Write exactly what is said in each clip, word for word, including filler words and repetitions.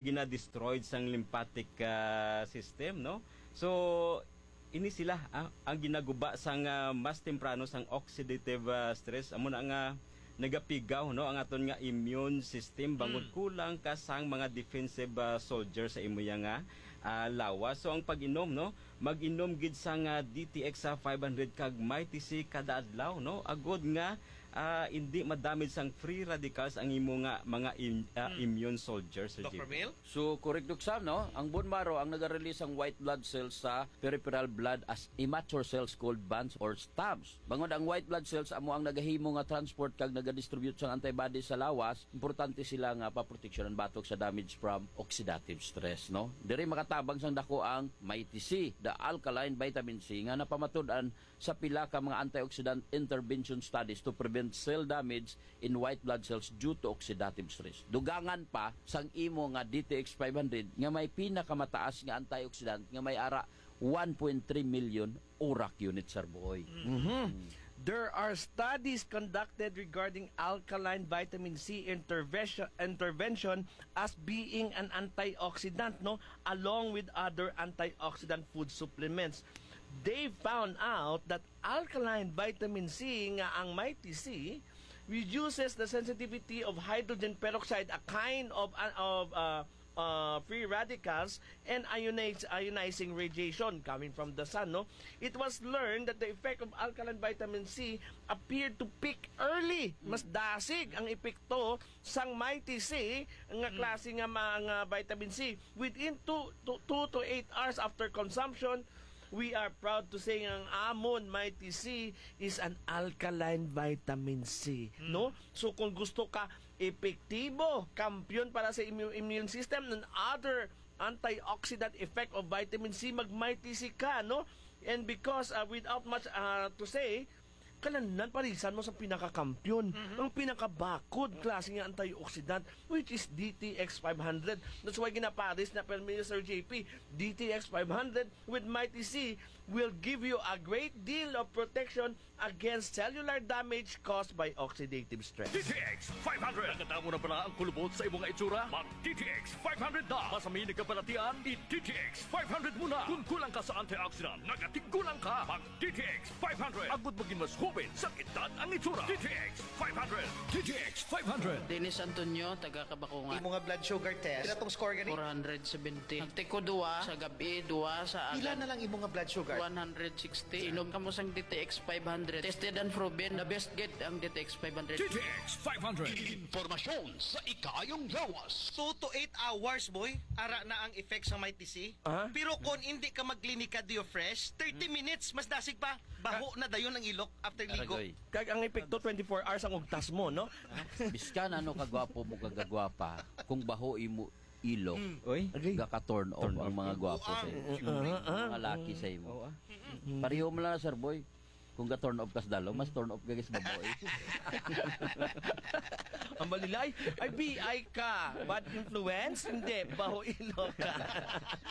gina-destroyed sang lymphatic, ah, system, no? So, ini sila, ah, ang ginaguba sang, ah, mas temprano sang oxidative, ah, stress. Amo na nga nagapigaw, no, ang aton nga immune system bangod Mm. kulang ka sang mga defensive, ah, soldier sa imo ya nga, ah, lawas. So, ang pag-inom, no, mag-inom gid sang, ah, D T X, ah, five hundred kag Mighty C kada adlaw, no? Agod nga, ah, hindi ma-damage sang free radicals ang imo nga mga im-, ah, Mm. immune soldier, Sir Doctor J P. Mil? So, correct, Doc Sam, no? Ang bone marrow ang naga-release sang white blood cells sa peripheral blood as immature cells called bands or stumps. Bangod ang white blood cells amo ang nagahimo nga transport kag nagadistribute sang antibodies sa lawas, importante sila nga paproteksyonan batok sa damage from oxidative stress, no? Diri makatabang sang dako ang Mighty C, the alkaline vitamin C, nga napamatud-an sa pila ka mga antioxidant intervention studies to prevent cell damage in white blood cells due to oxidative stress. Dugangan pa sang imo nga D T X five hundred nga may pinakamataas nga antioxidant nga may ara one point three million urak unit, Sir Boy. Mhm. There are studies conducted regarding alkaline vitamin C intervention, intervention as being an antioxidant, no, along with other antioxidant food supplements. They found out that alkaline vitamin C, nga ang Mighty C, reduces the sensitivity of hydrogen peroxide, a kind of, of, uh, uh, free radicals, and ionize, ionizing radiation coming from the sun, no? It was learned that the effect of alkaline vitamin C appeared to peak early. Mas Mm. dasig ang epekto sang Mighty C nga Mm. klase nga mga vitamin C within two to, two to eight hours after consumption. We are proud to say nga ang amon Mighty C is an alkaline vitamin C, Mm. no? So, kung gusto ka epektibo, kampiyon para sa immu-, immune system and other antioxidant effect of vitamin C, mag-Mighty C ka, no? And because, uh, without much, uh, to say, kalanan parisan mo sa pinakakampiyon, Mhm. ang pinakabakod klase nga antioxidant, which is D T X five hundred. That's why ginapares na permi ni Sir J P, D T X five hundred with Mighty C will give you a great deal of protection against cellular damage caused by oxidative stress. D T X five hundred. Nakadamo na bala ang kulubot sa imong itsura? Mag D T X five hundred na. Masami nagkabalatian, i D T X five hundred muna. Kung kulang ka sa antioxidant, nagatigulang ka. Mag D T X five hundred. Agud maging mas hoben sa edad ang itsura. D T X five hundred. D T X five hundred. Dennis Antonio, taga Kabakungan. Imo nga blood sugar test, pila tong score gani? Four hundred seventy. Nagtiko duwa sa gabi, duwa sa Pila agad. Na lang imo nga blood sugar? One hundred sixty. Inom kamo sang D T X five hundred. Tested and proven. The best gid ang D T X five hundred. D T X five hundred. Informasyon sa ikaayong lawas. Two to eight hours, boy. Ara na ang effect sa Mighty C. Aha. Pero kung hindi ka magklinika Dio Fresh, thirty Hmm. minutes, mas dasig pa. Baho na dayon ang ilok after ligo. Agoy. Kag ang epekto, twenty-four hours ang ugtas mo, no? Biskan ano kagwapo mo, kagagwapa, kung baho imo ilok, Mm. Oy. Agay. Gaka-turn off Turn ang off. Mga gwapo sa imo. Buang. Uh-huh, uh-huh. Mga laki sa imo. Oo, ah. Mm. Pareho mo lang na, Sir Boy. Kung ga-turn off ka sa dalaw, mas turn off ka sa babae. Ang balilay, ay, B I ka. Bad influence? Hindi, baho ilok ka.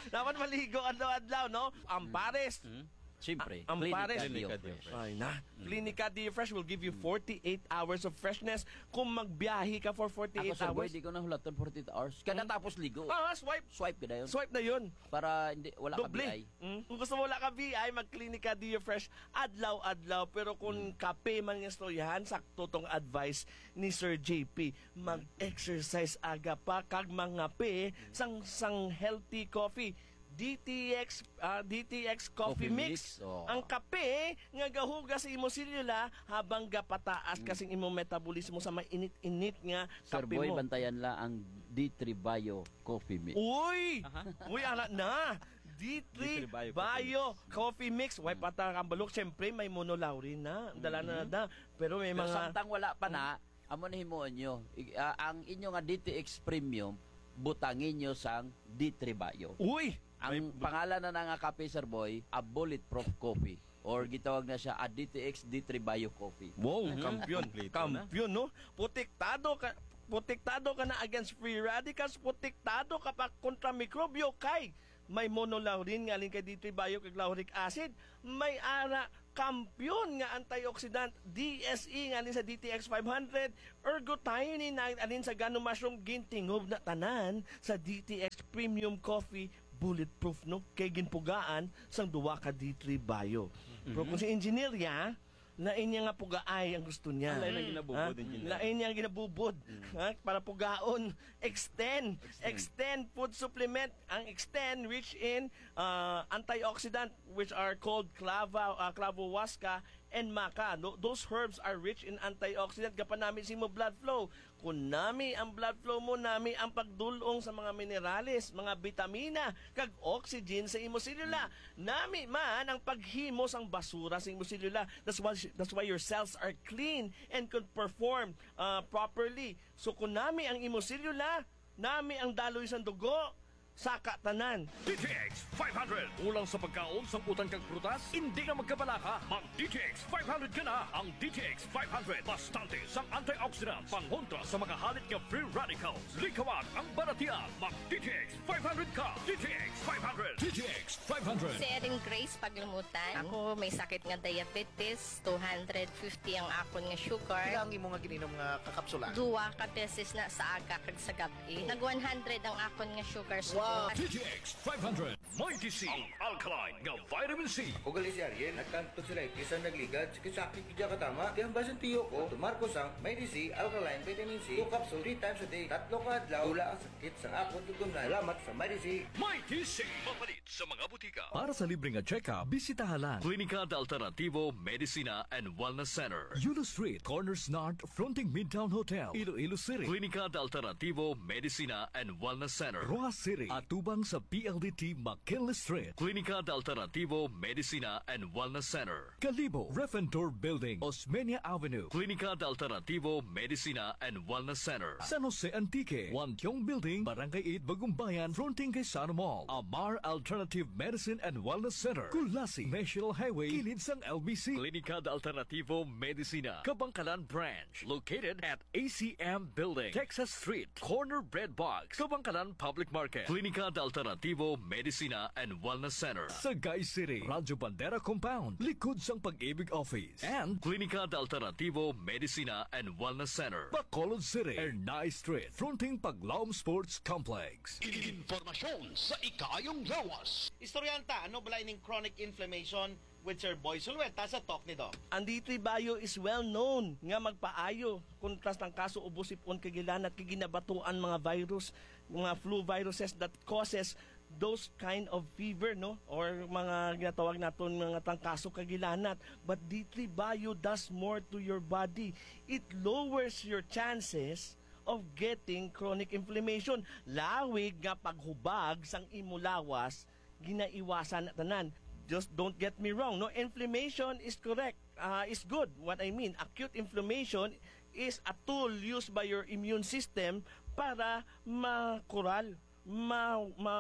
Dapat maligo adlaw-adlaw, no? Ang pares. Mm. Siyempre, A-, ang Clinica pares. Dio Clinica Dio Fresh. Fresh. Ay, na. Mm. Clinica Dio Fresh will give you Mm. forty-eight hours of freshness kung magbiyahe ka for forty-eight Ako, Sir Boy, hours. Di ko na hulaton forty-eight hours. Kada Mm. tapos ligo. Ah, swipe. Swipe ka na yun. Swipe na yun. Para hindi, wala ka Doble. B I. Mm. Kung gusto mo wala ka B I, mag-Clinica Dio Fresh adlaw-adlaw. Pero kung Mm. kape man nga istoryahan, sakto tong advice ni Sir J P. Mag-exercise aga pa kag mangape Mm. sang, sang healthy coffee. D T X, ah, D T X Coffee Coffee Mix. Mix, oh. Ang kape nga gahugas sa imo selula habang gapataas Mm. ka sing imong metabolismo sa mainit-init nga Sir kape Boy, mo. Bantayan la ang D three Bio Coffee Mix. Uy! Aha. Uy, ana na. D three D three Bio Bio Coffee Mix. Coffee Mix. Way Mm. pa ta ang balok. Siyempre, may monolaurin na. Dala na Mm-hmm. na. Pero may Pero mga samtang wala pa na, amo na himuon nyo. I-, ah, ang inyo nga D T X Premium, butangin nyo sang D three Bio. Uy! Ang May bu- pangalan na na nga kape, Sir Boy, a bulletproof coffee. Or gitawag na siya a D T X D three Bio Coffee. Wow, Mhm. kampiyon. Kompleto na. Kampiyon, no? Protektado ka, protektado ka na against free radicals, protektado ka pa kontra mikrobyo kay may monolaurin nga alin kay D three Bio kag lauric acid, may ara kampiyon nga antioxidant D S E nga alin sa D T X five hundred, ergothioneine nga alin sa gano mushroom, gintingob na tanan sa D T X Premium Coffee Bulletproof, no? Kay ginpugaan sang duwa ka D three Bio. Pero kung si engineer ya, lain niya nga pugaay ang gusto niya. Ah, lain ang ginabubod, Ha? engineer. Lain niya ang ginabubod. Ha? Para pugaon, Extend. Extend. Extend food supplement. Ang Extend rich in uh, antioxidant, which are called clava, uh, clavo huasca and maca. Tho- Those herbs are rich in antioxidant. Gapanami sa imo blood flow. Kung nami ang blood flow mo, nami ang pagdulong sa mga minerales, mga bitamina, kag oxygen sa imo selula. Nami man ang paghimo sang basura sa imo selula. That's why that's why your cells are clean and can perform uh, properly. So kung nami ang imo selula, nami ang daloy sang dugo, saka tanan. D T X five hundred. Kulang sa pagkaon, sangkutan kag prutas? Hindi na magkabalaka. Mag D T X five hundred ka na. Ang D T X five hundred, bastante sang antioxidant, pangontra sa mga halit nga free radicals. Likawan ang balatian. Mag D T X five hundred ka. D T X five hundred. D T X five hundred. Si Erin Grace Paglumutan. Ako may sakit nga diabetes, two hundred fifty ang akon nga sugar. Pila ang imo nga gininom nga kakapsula? Duwa ka beses na sa aga kag sa gab-i. Nag one hundred ang akon nga sugar. Wow. Sugar. D T X five hundred. Mighty C, ang alkaline nga vitamin C. Ako gali si Ariel, nagkantog sila, bisan nagligad, sakit-sakit gid katama. Kaya ang basin tiyo ko, tumar ko sang Mighty C, alkaline vitamin C, two capsule, three times a day. Tatlo ka adlaw, wala ang sakit sang akon tutunlan. Salamat sa Mighty C. Mighty C, mapalit sa mga butika. Para sa libre nga check-up, bisitaha lang Klinika de Alternativo Medicina and Wellness Center. Yulo Street, Corners North, fronting Midtown Hotel, Iloilo City. Klinika de Alternativo Medicina and Wellness Center. Roxas City, atubang sa P L D T McKinley Street. Klinika de Alternativo Medicina and Wellness Center. Kalibo, Ref and Tour Building, Osmeña Avenue. Klinika de Alternativo Medicina and Wellness Center. San Jose Antique, Wantiong Building, Barangay eight, Bagumbayan, fronting kay Sano Mall. Amar Alternative Medicine and Wellness Center, Culasi, National Highway, kilid sang L B C. Klinika de Alternativo Medicina, Kabangkalan Branch, located at A C M Building, Texas Street, corner Bread Box, Kabangkalan Public Market. Klinika de Alternativo Medicina and Wellness Center, Sagay City, Radyo Bandera Compound, likod sang Pag-ibig Office. And Klinika de Alternativo Medicina and Wellness Center, Bacolod City, Ernai Street, fronting Paglaom Sports Complex. Impormasyon sa ikaayong lawas. Istoryahan ta, ano bala ining chronic inflammation with Sir Boy Sulweta sa Talk ni Doc. Ang D three Bio is well known nga magpaayo kontra sa trangkaso, ubo, sip-on kag hilanat kay ginabatuan mga virus, mga flu viruses that causes those kind of fever, no? Or mga ginatawag naton mga trangkaso kag hilanat. But D three Bio does more to your body. It lowers your chances of getting chronic inflammation. Lawig nga paghubag sang imo lawas, ginaiwasan na tanan. Just don't get me wrong, no? Inflammation is correct, ah, is good. What I mean, acute inflammation is a tool used by your immune system para makural, ma, ma,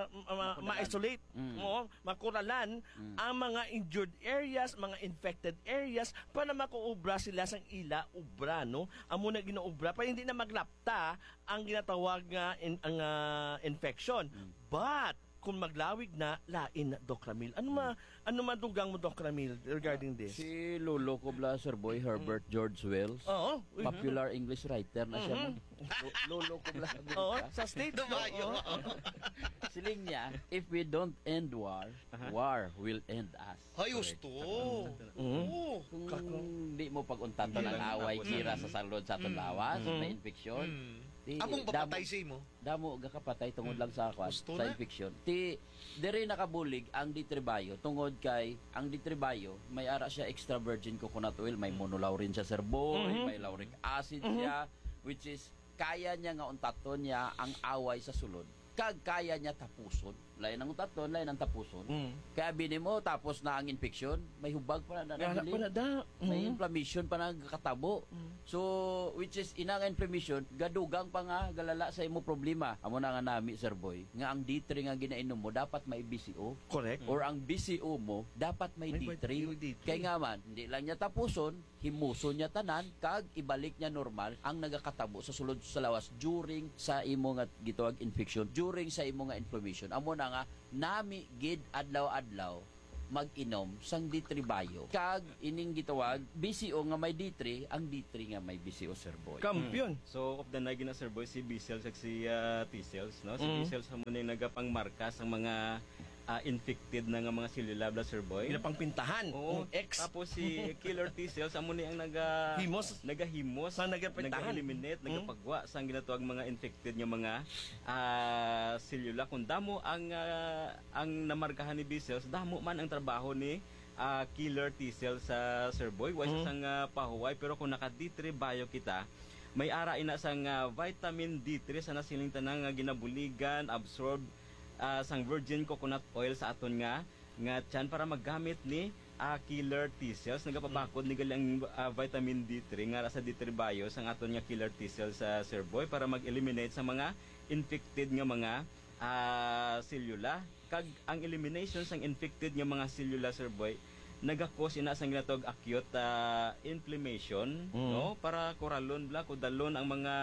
ma, Makuralan. ma-isolate, Mm. oo, makuralan Mm. ang mga injured areas, mga infected areas, para makaobra sila sang ila obra, no? Amo na ginaobra, para hindi na maglapta ang ginatawag nga in-, ang, ah, infection. Mm. But kung maglawig na, lain na, Doc Ramil. Ano ma-, Mm. ano madugang mo, Doc Ramil, regarding Ah, this? Si Lolo ko bla, Sir Boy, Mm. Herbert George Wells. Oo. Mhm. Popular English writer na siya, Mhm. no? Lo-, Lolo ko bla, Oo, Amerika. Sa States, no? Dumayo. Oo. Siling niya, "If we don't end war, Aha. war will end us." Ay, Correct. Husto. Mm. Oo. Kung Kako. di mo pag-untaton Hindi ang lang away, tapos kira ang sa salod sa aton Mm. lawas, Mm. may infection, Mm. di, Among damo, papatay sa imo. damo gakapatay tungod Mm. lang sa, kwan, Husto sa na. infection. Ti, diri nakabulig ang D three Bio tungod kay ang D three Bio may ara siya extra virgin coconut oil, may Mm. monolaurin siya, Sir Boy, Mhm. may lauric acid Mhm. siya, which is kaya niya nga untaton niya ang away sa sulod. Kag kaya niya tapuson. Lain ang untaton, lain ang tapuson. Mm. Kaya abi nimo, tapos na ang infection, may hubag pa na, na Wala nabilin. pa na da. May Mm. inflammation pa na katabo. Mm. So, which is, ina nga inflammation, gadugang pa nga, galala sa imo problema. Amo na nga nami, Sir Boy, nga ang D three nga ginainom mo, dapat may B C O. Correct. Or ang B C O mo, dapat may May D three. may D three. Kay nga man, hindi lang niya tapuson, himuson niya tanan, kag ibalik niya normal ang nagakatabo sa sulod sa lawas during sa imo nga gitawag infection. during sa imo nga inflammation. Amo na nga, nami gid adlaw-adlaw mag-inom sang D three Bio. Kag ining gitawag B C O nga may D three, ang D three nga may B C O, Sir Boy. Kampiyon. So, of the night gina, Sir Boy, si B cells kag si, ah, T cells, no? Si Mm. B cells amo ni nagapangmarka sang mga, ah, infected na nga mga selula, bla, Sir Boy. Ginapangpintahan. Oo. Ang X. Tapos si killer T cells amo ni ang naga-, Himos. nagahimos, Sa nagapintahan. naga-eliminate, Mm. nagapagwa sang ginatawag mga infected nga mga, ah, selula. Kung damo ang, ah, ang namarkahan ni B cells, damo man ang trabaho ni, ah, killer T cells sa, Sir Boy. Wa siya Mm. sang, ah, pahuway, pero kung naka D three Bio kita, may ara ina sang, ah, vitamin D three sa nasiling tanan nga ginabuligan, absorb, ah, sang virgin coconut oil sa aton nga, nga tiyan para maggamit ni, ah, killer T cells. Nagapabakod ni gali ang, ah, vitamin D three nga ara sa D three Bio sang aton nga killer T cells sa, Sir Boy, para mag-eliminate sa mga infected nga mga, ah, selula. Kag ang elimination sang infected nga mga selula, Sir Boy, nagakos ina sang ginatawag acute, ah, inflammation, Mm. no? Para kuralon, bla, kudalon ang mga,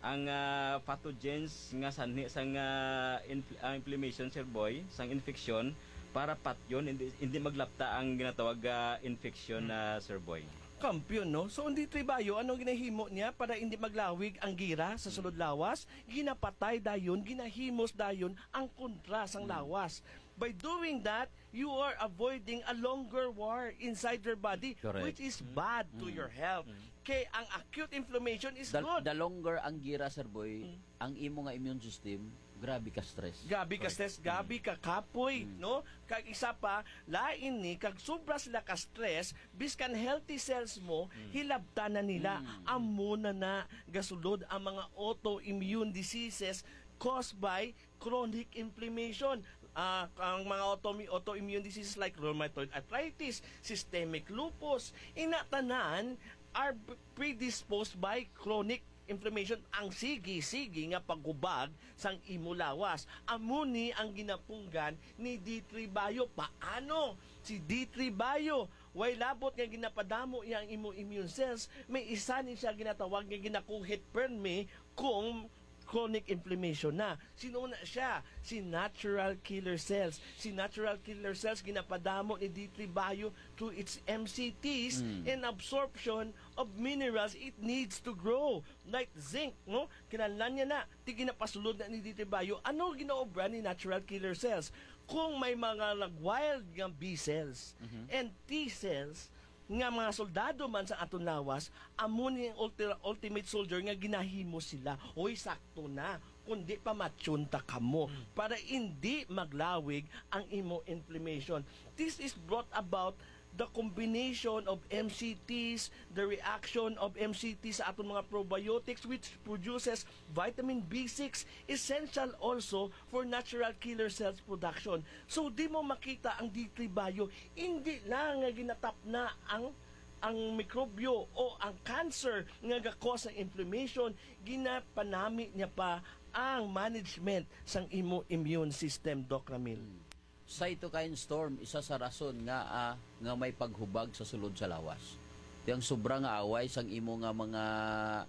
ang, ah, pathogens nga sanhi sang, ah, inf-, ah, inflammation, Sir Boy, sang infection, para patyon, hindi, hindi maglapta ang ginatawag, ah, infection, Mm. ah, Sir Boy. Kampiyon, no? So, ang D three Bio, ano ginahimo niya para hindi maglawig ang gira sa sulod lawas? Ginapatay dayon, ginahimos dayon ang kontra sang Mm. lawas. By doing that, you are avoiding a longer war inside your body, Correct. which is bad to Mm. your health. Mm. Kay ang acute inflammation is The, good. the longer ang gira, Sir Boy, Mm. ang imo nga immune system, grabe ka stress. Grabe ka Correct. stress, grabe Mm. ka kapoy, Mm. no? Kag isa pa, lain ni, kag sobra sila ka stress, biskan healthy cells mo, Mm. hilabtan na nila. Mm. Amo na na gasulod ang mga autoimmune diseases caused by chronic inflammation. Ah, ang mga automi-, autoimmune diseases like rheumatoid arthritis, systemic lupus, ina tanan are predisposed by chronic inflammation, ang sige-sige nga paghubag sang imo lawas. Amo ni ang ginapunggan ni D three Bio. Paano? Si D three Bio, way labot nga ginapadamo iya ang imo immune cells, may isa ni siya ginatawag nga ginakuhit permi kung chronic inflammation na. Sino na siya? Si natural killer cells. Si natural killer cells ginapadamo ni D three Bio through its M C Ts Mm. and absorption of minerals it needs to grow, like zinc, no? Kinahanglan niya na, ti ginapasulod na ni D three Bio. Ano ginaobra ni natural killer cells? Kung may mga nag-wild nga B cells Mhm. and T cells nga mga soldado man sa aton lawas, amo ni ang ulti-, ultimate soldier nga ginahimo sila. Hoy, sakto na. Kundi pamatyon ta kamo Mm. para hindi maglawig ang imo inflammation. This is brought about the combination of M C Ts, the reaction of M C T sa aton mga probiotics, which produces vitamin B six, essential also for natural killer cells production. So, di mo makita ang D three Bio, hindi lang nga ginatap na ang, ang mikrobyo o ang cancer nga gakos ang inflammation, ginapanami niya pa ang management sang imo immune system, Doc Ramil. Hmm. Cytokine storm, isa sa rason nga, ah, nga may paghubag sa sulod sa lawas. Ti ang sobra nga away sang imo nga mga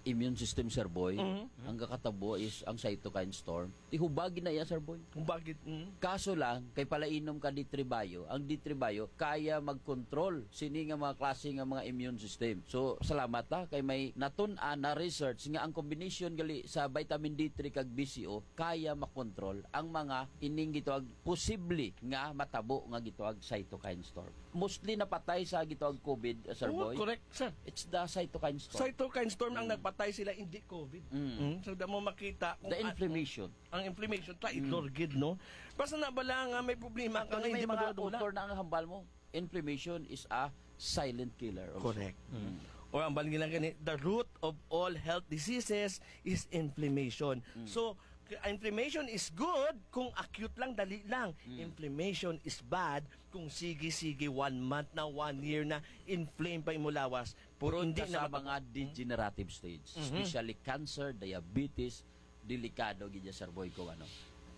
immune system, Sir Boy, Mhm. ang gakatabo is ang cytokine storm. Ti hubag na iya, Sir Boy. Hubag gid, mm. Kaso lang, kay palainom ka D three Bio, ang D three Bio kaya magkontrol sini nga mga klase nga mga immune system. So, salamat, ha, kay may natun-an na research nga ang combination gali sa vitamin D three kag B C O kaya makontrol ang mga ining gitawag posible nga matabo nga gitawag cytokine storm. Mostly napatay sa gitawag COVID, uh, Sir Oo, Boy. Correct, sir. It's the cytokine storm. Cytokine storm ang Mm. nagpatay sila, hindi COVID. Mm. Mm, so, damo makita kung The an-, inflammation. Ang inflammation, traidor Mm. gid, no? Basta na bala nga may problema ka Actually, nga may hindi mga madula-dula. Author na ang hambal mo. Inflammation is a silent killer also. Correct. Mm. Or ang bala nila gani, the root of all health diseases is inflammation. Mm. So, k-, inflammation is good kung acute lang, dali lang. Mm. Inflammation is bad kung sige-sige, one month na, one year na, inflame pa imo lawas. Pero Prone hindi ka na sa mata-, mga degenerative stage, Mhm. especially cancer, diabetes, delikado gid ya, Sir Boy, kung ano.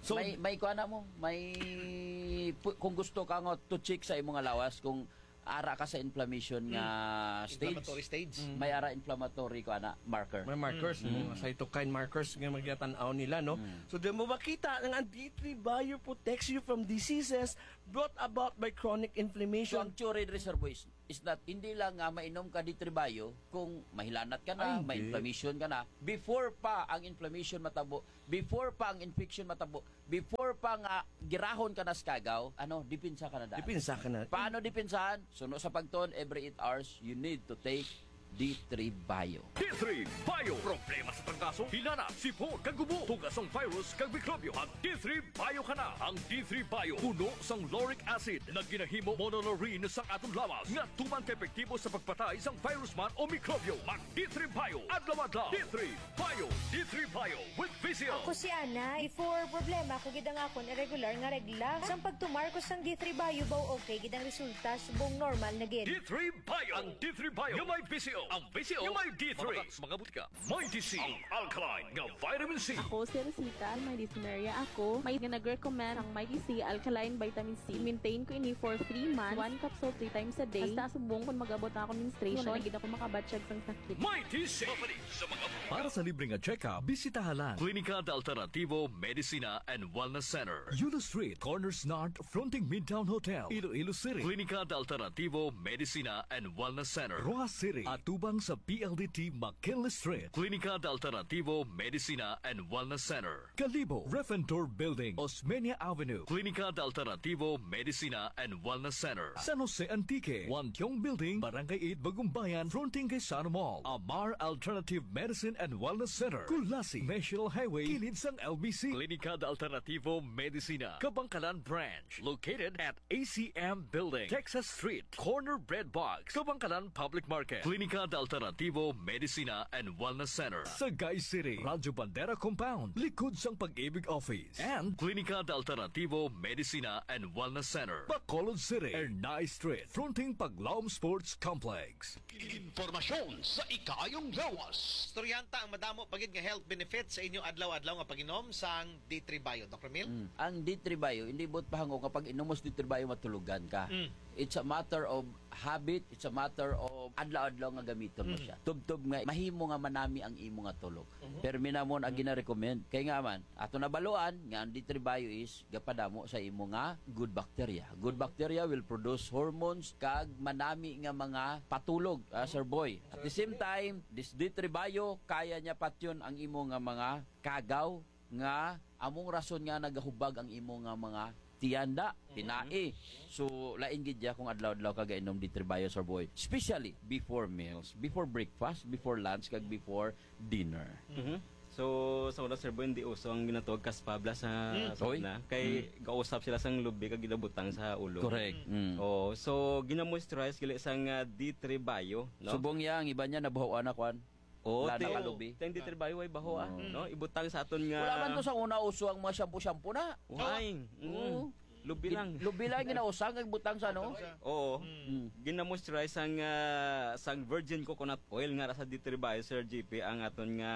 So, may, may kuha na mo, may pu-, kung gusto ka nga to check sa imong lawas kung ara ka sa inflammation nga stage. Inflammatory stage. Mm. May ara inflammatory ko ana marker. May markers, Mm. mga cytokine markers nga magtanaw nila, no? Mm. So, di mo makita nga ang D three Bio protects you from diseases brought about by chronic So, inflammation. ang theory diri, Sir Boy, is, is that hindi lang nga mainom ka D three Bio kung mahilanat ka na, Ay, may hindi. inflammation ka na. Before pa ang inflammation matabo, before pa ang infection matabo, before pa nga girahon ka na sa kagaw, ano, depensa ka na daan. Depensa ka na. Paano depensahan? Suno sa pagtuon, every eight hours, you need to take D three Bio. D three Bio. Problema sa trangkaso, hilanat, sipon, kag ubo, tugas sang virus kag mikrobyo. Mag D three Bio ka na. Ang D three Bio puno sang lauric acid nga ginahimo monolaurin sang aton lawas nga tumang ka epektibo sa pagpatay sang virus man o mikrobyo. Mag D three Bio adlaw-adlaw. D three Bio. D three Bio with V C O. Ako si Ana. Before, problema ko gid ang akon irregular nga regla. Sang pagtumar ko sang D three Bio, baw okay gid ang resulta, subong normal na gid. D three Bio. Ang D three Bio nga may V C O. Ang V C O nga may D three. Mabakal sa mga butika. Mighty C, ang alkaline nga vitamin C. Ako si Rosita, may dysmenorrhea ako. May nga nag-recommend ang Mighty C alkaline vitamin C. I-maintain ko ini for three months, one capsule three times a day. Hasta subong kon mag-abot na ako menstruation, wala na gid ako makabatyag sang sakit. Mighty C. Mapalit sa mga butika. Para sa libre nga check-up, bisitaha lang Clínica de Alternativo Medicina and Wellness Center, Yulo Street, corner Snart, fronting Midtown Hotel, Iloilo City. Clínica de Alternativo Medicina and Wellness Center, Roxas City, atubang sa P L D T McKinley Street. Clínica de Alternativo Medicina and Wellness Center, Kalibo, Refentor Building, Osmeña Avenue. Clínica de Alternativo Medicina and Wellness Center, San Jose Antique, Wantiong Building, Barangay eight, Bagumbayan, fronting kay Sano Mall. Amar Alternative Medicine and Wellness Center, Culasi, National Highway, kilid sang L B C. Clínica de Alternativo Medicina, Kabankalan Branch, located at A C M Building, Texas Street, corner Bread Box, Kabankalan Public Market. Clínica de Alternativo Medicina and Wellness Center, Sagay City, Radyo Bandera Compound, likod sang Pag-ibig Office. And Clínica de Alternativo Medicina and Wellness Center, Bacolod City, Ernai Street, fronting Paglaom Sports Complex. Impormasyon sa ikaayong lawas. Istoryahan ta ang madamo pa gid nga health benefits sa inyo adlaw-adlaw nga pag-inom sang D three Bio, Doc Ramil? Mm. Ang D three Bio, hindi buot pahangop nga pag-inom mo sa D three Bio, matulogan ka. Mm. It's a matter of habit, it's a matter of adlaw-adlaw nga gamiton mo Mm. siya. Tubtob nga mahimo nga manami ang imo nga tulog. Mhm. Pero minamon ang Mm. gina-recommend. Kay nga man, ato nabaluan nga ang D three Bio is gapadamo sa imo nga good bacteria. Good bacteria will produce hormones kag manami nga mga patulog, ah, Sir Boy. At the same time, this D three Bio, kaya niya patyon ang imo nga mga kagaw nga among rason nga nagahubag ang imo nga mga tiyan da, Mhm. tinai. So, lain gid ya kung adlaw-adlaw ka gainom D three Bio, Sir Boy. Especially before meals, before breakfast, before lunch, kag before dinner. Mhm. So, sa una, Sir Boy, hindi uso ang ginatawag kaspabla sa, Mm. sa Oy. una. Kay Mm. gausap sila sang lubi kag ginabutang sa ulo. Correct. Mm. Mm. Oo. So, ginamoisturize gali sang, ah, D three Bio, no? Subong ya, ang iba niya nabuhawan na kwan. Oo, Lana ti-, ka lubi. Teng D three Bio ay baho, ah, Oo. no? Ibutang sa aton nga Wala man to sa una uso ang mga shampoo-shampoo na. Why? Oo. Mm. Oo. Lubi Gin-, lang. lubi lang ginausang, nagbutang sa ano? Butang sa Oo. Mm. Mm. Ginamoisturize sang, ah, sang virgin coconut oil nga ra sa D three Bio, Sir G P, ang aton nga,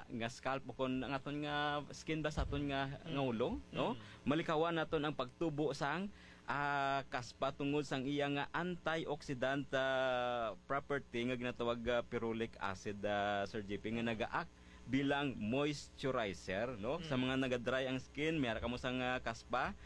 nga scalp o kon ang aton nga skin ba sa aton nga, Mm. nga ulo, no? Mm. Malikawan naton ang pagtubo sang, ah, kaspa tungod sang iya nga antioxidant, ah, property nga ginatawag, ah, ferulic acid, ah, Sir G P, nga naga-act bilang moisturizer, no? Sa Mm. mga naga-dry ang skin, may ara kamo sang, ah, kaspa,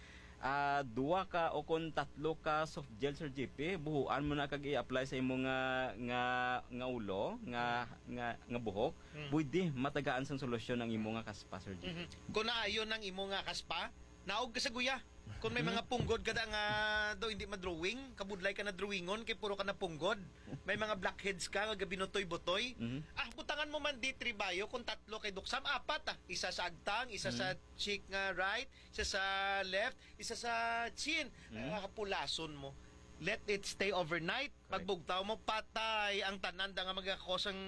ah, duha ka o kon tatlo ka soft gel, Sir G P, buhuan mo na kag i-apply sa imo nga, nga, nga ulo, nga, nga, nga buhok. Mm. Pwede matagaan sang solusyon ang imo nga kaspa, Sir G P. Mhm. Kung naayo nang imo nga kaspa, naog ka sa guya. Kung may Mhm. mga punggod ka da nga daw hindi madrawing, kabudlay ka na drawingon kay puro ka na punggod. May mga blackheads ka nga gabinutoy-butoy. Mhm. Ah, butangan mo man D three Bio kung tatlo kay Doc Sam, apat ah. Isa sa agtang, isa sa Mhm. cheek nga right, isa sa left, isa sa chin. Mhm. Ah, hapulason mo. Let it stay overnight. Correct. Pagbugtaw mo, patay ang tanan da nga magakos ang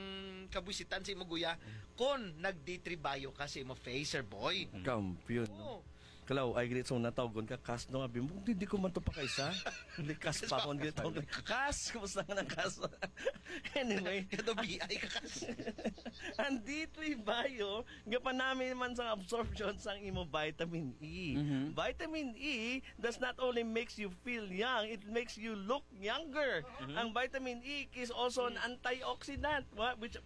kabuisitan sa imo guya Mhm. kung nag-D three Bio ka sa imo face, Sir Boy. Mhm. Kampiyon, no? Oo. Kalaw, ay, grit sa natawgon ka, Kas, no? Abi mo, "Di, di ko man to pakaisa." Likas pa akong grit. Kas, kumusta ka ng Kas? Anyway. Kado B I ka, Kas. Ang D three Bio, gapanami man sang absorption sang imo vitamin E. Mhm. Vitamin E does not only makes you feel young, it makes you look younger. Mhm. Ang vitamin E is also an antioxidant, wa-, which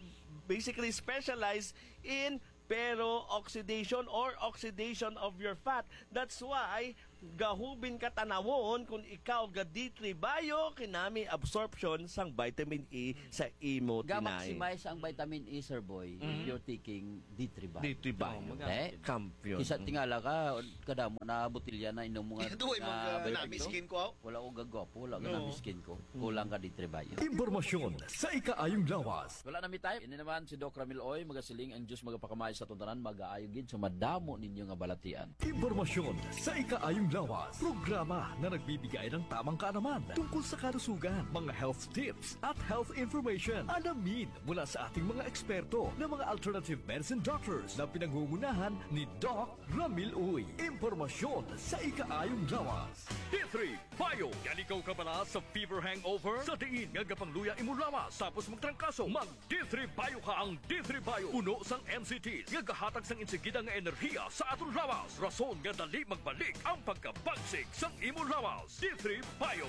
basically specialize in pero oxidation or oxidation of your fat. That's why gahubin ka tanawon kung ikaw ga D three Bio, kinami absorption sang vitamin E sa imo tinai. Ga-maximize ang vitamin E, Sir Boy, if Mm. you're taking D three Bio. D three Bio. Oh, maga-, Eh? Champion. Kisa tingala ka, kadamo na botelya na inom mo nga Ito ay na mga vitamin namiskin ko, aw. Wala ko gagwapo, wala ka No. namiskin ko. Kulang ka D three Bio. Impormasyon sa ikaayong lawas. Wala na mi time. Ini naman si Doc Ramil Oy, magasiling ang Diyos magapakamay sa atong tanan, magaayo gid sa madamo ninyo nga balatian. Impormasyon sa ikaayong lawas. Programa na nagbibigay ng tamang kaalaman tungkol sa kalusugan, mga health tips at health information. Alamin mula sa ating mga eksperto na mga alternative medicine doctors na pinangungunahan ni Doc Ramil Uy. Impormasyon sa ikaayong lawas. D three Bio. Yan ikaw kabala sa fever hangover? Sa diin nga gapangluya imo lawas tapos magtrangkaso, mag D three Bio ka. Ang D three Bio puno sang N C T nga gahatag sang insigida nga enerhiya sa aton lawas. Rason nga dali magbalik ang pagkabagsik sang imo lawas. D three Bio.